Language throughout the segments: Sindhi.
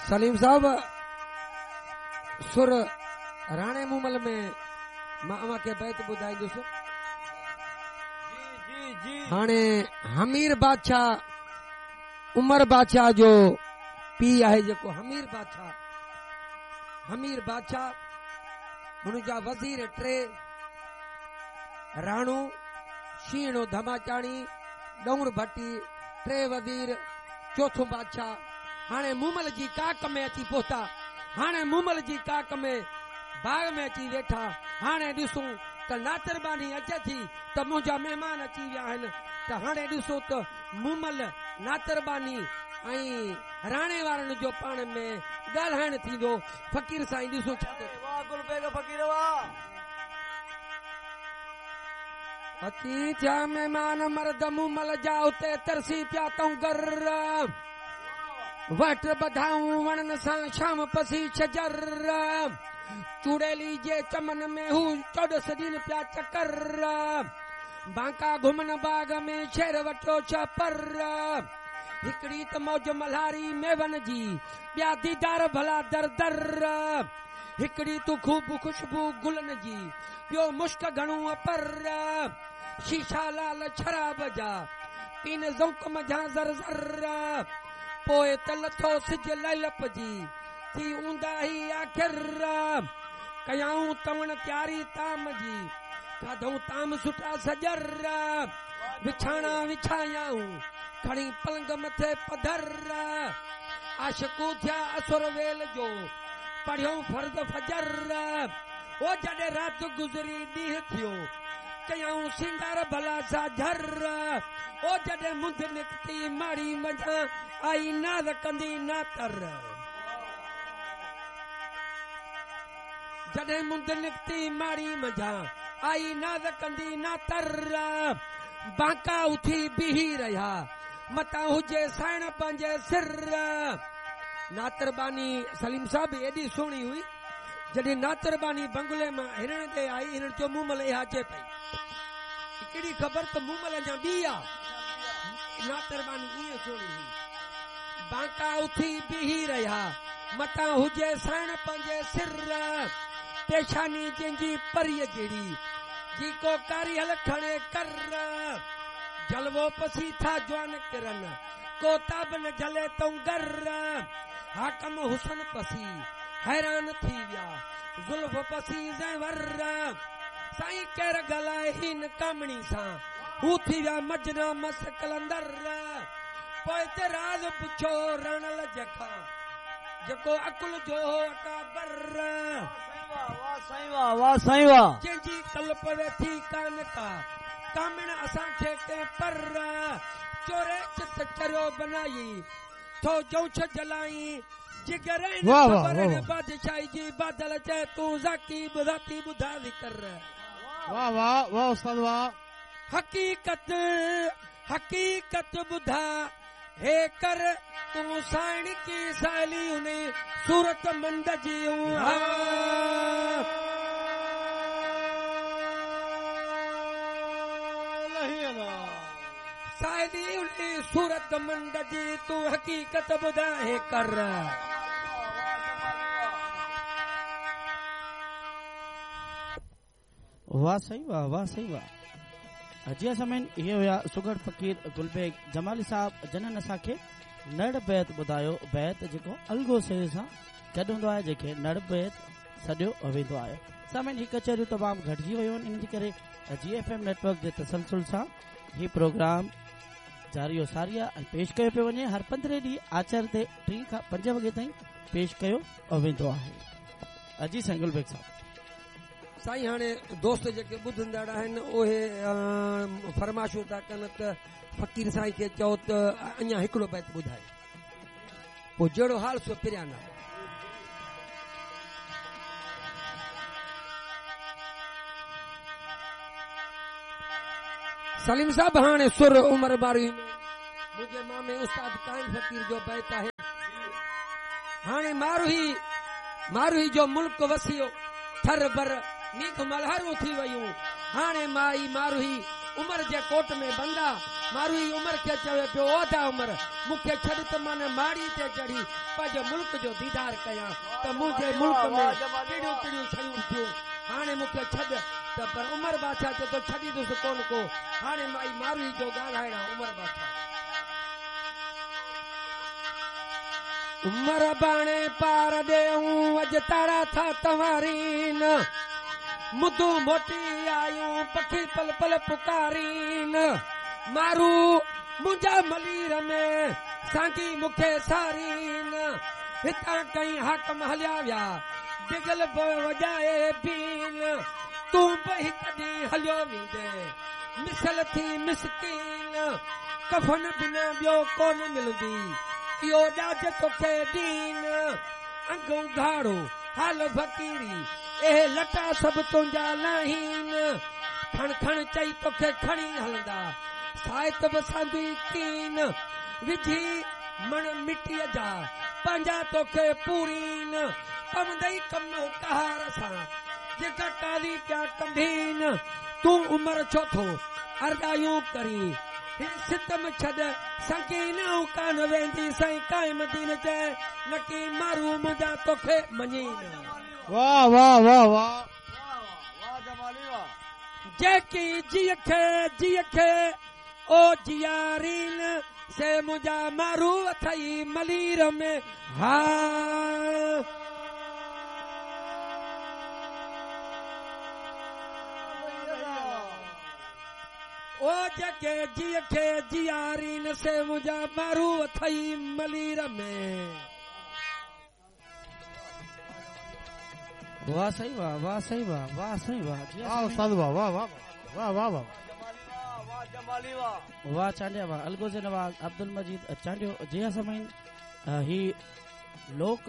سليم صاحب سر راڻي مومل ۾ مان اوهان کي بيت ٻڌائيندس. هاڻي همير بادشاهه عمر بادشاهه جو پيء آهي جيڪو همير بادشاهه همير بادشاهه هن جا وزير ٽي راڻو شينهڻو ڌماچاڻي ڏونر ڀٽي ٽي وزير چوٿون بادشاهه هاڻي مومل جي ڪاڪ ۾ اچي پهتا. هاڻي مومل جي ڪاڪ ۾ باغ ۾ اچي ويٺا. هاڻي ڏسون ته ناتر ٻانهي اچي ٿي ته منهنجا مهمان اچي ويا آهن ته هاڻي ڏسو ته مومل، ناتر ٻانهي ۽ راڻي وارن جو پاڻ ۾ ڳالهائڻ ٿيندو. فقير سائين ڏسو ڇا ٿو ٿئي. واهه گل بيگ فقير واهه. اچي ٿيا مهمان مرد مومل جا اتي ترسي پيا تونگر وهٽ ٻڌائون وڻن سان شام پسي شجر چوڙيلي جي چمن ۾ هو چوڏس ڏين پيا چڪر بانڪا گهمن باغ ۾ شير وٺيو شهپر هڪڙي ته موج ملهاري ميون جي ٻيا ديدار ڀلا در در هڪڙي ته خوب خوشبو گلن جي ٻيو مشڪ گهڻو اپر، شيشا لال شراب جا، پين ذوق منجهان ذر ذر، پوء ته لٿو سج لعلپ جي، ٿي اونداهي آخر، ڪيائون تؤڻ تياري طعام جي، کاڌئون طعام سٺا سڄر، وڇاڻا وڇايائون، کڻي پلنگ مٿي پڌر، عاشقون ٿيا اسر ويل جو، پڙهيئون فرض فجر. او جڏهن رات گذري ڏينهن ٿيو، ڪيائون سينگار ڀلا ساجهر. او جڏهن منڌ نڪتي ماڙي منجهان، آئي ناز ڪندي ناتر. جڏهن منڌ نڪتي ماڙي منجهان، آئي ناز ڪندي ناتر. بانڪا اٿي بيهي رهيا، متان هجي سائڻ پنهنجي سر. ناتر ٻانهي سليم صاحب ايڏي سهڻي هئي. جڏهن ناتر ٻانهي بنگلي مان هرڻ ڏي آئي، هرڻ چيو، مومل اها اچي پئي. ڪهڙي خبر ته مومل اڃا ٻي آ. ناتر ٻانهي ائين سهڻي هئي. بانڪا اٿي بيهي رهيا، متان هجي سائڻ پنهنجي سر. پيشاني جنهن جي پريء جهڙي، جي ڪو ڪاريهل کڻي ڪر. جلوو پسي ٿا جوان ڪرن، ڪو تاب نه جهلي تونگر. حاڪم حسن پسي حيران ٿي ويا، زلف پسي زيور. سائين ڪير ڳالهائي هن ڪامڻي سان، هو ٿي ويا مجنا مست قلندر. پوء ته راز پڇيو راڻل جي کان، جيڪو عقل جو هو اڪابر. واه سائين واه واه سائين واه. جنهن جي ڪل پوي ٿي ڪانه ڪا، ڪامڻ اسان کي ڪنهن پر. چوري چت چريو بنائي، ٿو جوش جلائين جگر هن واه واه خبر واه هن واه. بادشاهي جي بادل چئي تون ذاڪي ذاتي ٻڌاء ذڪر. واه واه واه استاد واه. حقيقت حقيقت ٻڌاء هي ڪر تون سائڻ ڪي سائلي انهي صورت مند جي ها. سائلي انهي صورت مند جي تون حقيقت ٻڌاء هي ڪر. واه سائين واه واه سائين واه جي سامعين اهي هيا سگهڙ فقير گل بيگ جمالي صاحب جنن اسان کي نڙ بيت ٻڌايو بيت جيڪو الڳو سيري سان گڏ هوندو آهي جنهن کي نڙ بيت سڏيو ويندو آهي سامعين هي ڪچهريون تمام گهٽجي ويون آهن ان جي ڪري جي ايف ايم نيٽورڪ جي تسلسل سان هي پروگرام جاري و ساري آهي ۽ پيش ڪيو پيو وڃي هر پندرهين ڏينهن آچر تي ٽين کان پنج وڳي تائين پيش ڪيو ويندو آهي جي سائين گل بيگ صاحب. سائين هاڻي دوست جيڪي ٻڌندڙ آهن اهي فرمائشون ٿا ڪن ته فقير سائين کي چئو ته اڃا هڪڙو بيت ٻڌائي پوء جهڙو حال سو پريان نه. سليم صاحب هاڻي سر عمر ماروي ۾ منهنجي مامي استاد قائم فقير جو بيت آهي هاڻي ماروهي ماروهي جو ملڪ وسيو ٿر بر ميگهه ملهارون ٿي ويون هاڻي مائي ماروهي عمر جي ڪوٽ ۾ بند آ. ماروئي عمر کي چوي پيو، او ادا عمر، مون کي ڇڏ ته مان ماڙي تي چڙهي پنهنجي ملڪ جو ديدار ڪيان ته منهنجي ملڪ ۾ ڪهڙيون ڪهڙيون شيون ٿيون. هاڻي مون کي ڇڏ ته پر عمر بادشاهه چئي ٿو ڇڏيندس ڪونه ڪو. هاڻي مائي ماروئي جو ڳالهائڻ آ عمر بادشاهه. عمر اباڻي پار ڏيئون اڄ تارا ٿا تنوارين. مندون موٽي آيون پکي پل پل پڪارين. مارو منهنجا ملير ۾ سانگي مون کي سارين. هتان ڪئين حاڪم هليا ويا بگل به وڄائي بين. تون به هڪ ڏينهن هليو ويندين مثل ٿي مسڪين. ڪفن بنا ٻيو ڪونه ملندي اهو ڏاج توکي ڏين. انگ اگهاڙو حال فقيري اهي لٽا سڀ تنهنجا لاهين. کڻ کڻ چئي توکي کڻي هلندا سائت به ساندي ڪين. وجهي مڻ مٽيء جا پنهنجا توکي پورين. پوندئي ڪم قهار سان جيڪا قاضي پيا ڪنڀين. تون عمر ڇو ٿو ارڏايون ڪرين هي ستم ڇڏ سنگين. آئون ڪانه ويندي سائين قائم دين چئي نڪي مارو منهنجا توکي مڃين. واه واه واه واه. جيڪي جيء کي جيء کي او جيارين سي منهنجا مارو اٿئي ملير ۾ ها. او جيڪي جيء کي جيارين سي منهنجا مارو اٿئي ملير ۾. واه سائين واه واه سائين واه واه سائين واه جي واه استاد واه واه واه واه واه واه واه چانڊيا واه الغوزي نواز عبدالمجيد چانڊيو جي ها سامعين هي لوڪ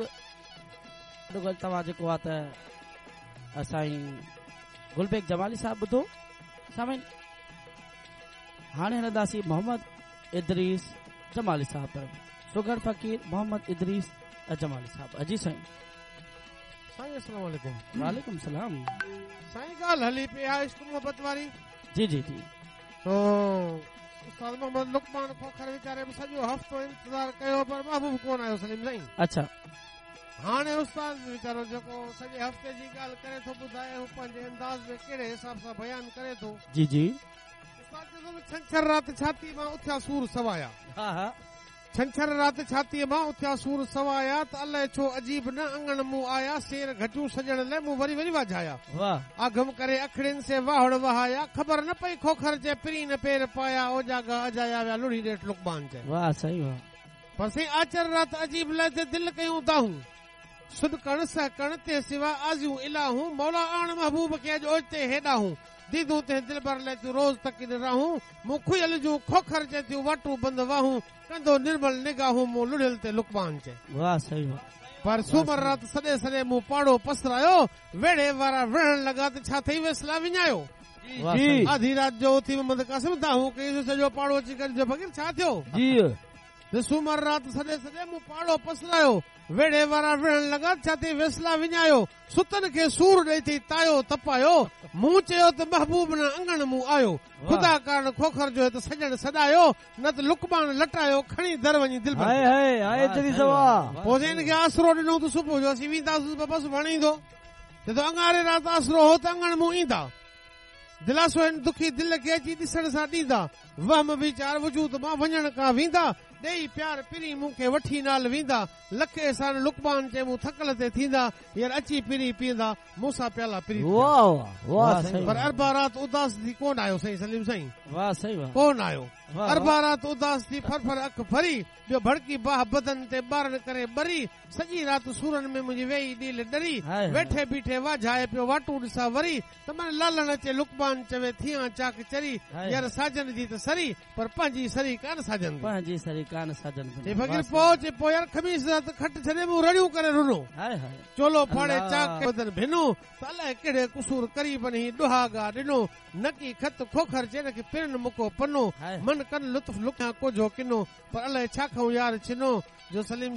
گل توهان جيڪو آ ته سائين گلبيگ جمالي صاحب ٻڌو سامعين هاڻي هلنداسين محمد ادريس جمالي صاحب طرف سگهڙ فقير محمد ادريس جمالي صاحب جي سائين. سائين السلام عليڪم. وعليڪم السلام. سائين ڳالهه هلي پئي آ عشق محبت واري. جي جي جي. تو استاد محمد لقمان کوکر ويچاري به سڄو هفتو انتظار ڪيو پر محبوب ڪون آيو سليم سائين. اڇا. هاڻي استاد ويچارو جيڪو سڄي هفتي جي ڳالهه ڪري ٿو ٻڌائي هو پنهنجي انداز ۾ ڪهڙي حساب سان بيان ڪري ٿو. جي جي. استاد چئي ٿو ته ڇنڇر رات ڇاتيء مان اٿيا سور سوايا. ها ها. ڇنڇر رات ڇاتيء مان اٿيا سور سوايا ته الائي ڇو عجيب نه اڱڻ مون آيا سير گهٽيون سڄڻ لئه مون وري وري واجهايا. واه. آگم ڪري اکڙين سي واهڙ وهايا خبر نه پئي کوکر چئي پرين نه پير پايا اوجاڳا اجايا ويا لڙهي ڏيٺ لقمان چئي. واه سائين واه. پر سائين آچر رات عجيب لئه دل ڪيون دانهون سڏڪڻ سهڪڻ تنهن سوا آزيون الاهون مولا آڻ محبوب کي اڄ اوچتي هيڏاهون ديدون تنهن دلبر لئه ٿيون روز تڪين راهون مون کهيل جون کوکر چئي ٿيون واٽون بند واهون ڪندو نرمل نگاهون مون لڙهيل تي لقمان چئي. واه سائين واه. پر سومر رات سڏي سڏي مون پاڙو پسرايو ويڙهي وارا وڙهڻ لڳا ته ڇا ٿئي ويسلا وڃايو. واه سائين. آڌي رات جو اٿي محمد قاسم دانهون ڪئي سو سڄو پاڙو اچي گڏ ٿيو فقير ڇا ٿيو؟ جي. ته سومر رات سڏي سڏي مون پاڙو پسرايو ويڙهي وارا وڙهڻ لڳا ته ڇا ٿئي ويسلا وڃايو ستن کي سور ڏئي ٿئي تايو تپايو مون چيو ته محبوب نه اڱڻ مون آيو خدا ڪارڻ کوکر جو هت سڄڻ سڏايو نه ته لقمان لٽايو کڻي در وڃي دلبر هاء کي. هاء هاء ادريس واه. پوء سائين هن کي آسرو ڏنو ته صبح جو اسين وينداسون ته بس ايندو چئي ٿو اڱاري رات آسرو هو ته اڱڻ مون ايندا دلاسو هن دکي دل کي اچي ڏسڻ سان ڏيندا وهم ويچار وجود مان وڃڻ کان ويندا ڏيئي پيار پرين مون کي وٺي نال ويندا لک احسان لقمان چئي مون ٿڪل تي ٿيندا يار اچي پرين پيئندا مون سان پيالا پريت جا. واه واه واه سائين پر اربع رات اداس ٿي ڪونه آيو سائين سليم سائين واه سائين واه ڪونه آيو واه اربع رات اداس ٿي ڦر ڦر اک ڦري ٻيو ڀڙڪي باهه بدن تي ٻارڻ ڪري ٻري، سڄي رات سورن ۾ منهنجي ويئي ڏيل ڏري، هاء هاء. ويٺي بيٺي واجهائي پيو واٽون ڏسان وري، ته من لالڻ اچي لقمان چوي ٿيان چاڪ چري، هاء يار هاء. ساجن جي ته سري، پر پنهنجي سري ڪانه ساجن the. پنهنجي سري ڪانه ساجن the. چي واه فقير سائين. پوء چي پوء يار خميس رات کٽ ڇڏي مون رڙيون ڪري رنو، هاء هاء. چولو ڦاڙي الله. چاڪ ڪري بدن ڀنو، ته الائي ڪهڙي قصور قريبن هي ڏهاڳا ڏنو، نڪي خط کوکر چي نڪي پرين مڪو پنو، هاء. من ڪن لطف لڪيان ڪوجهو ڪنو، پر الائي ڇا کئون يار ڇنو، جو سليم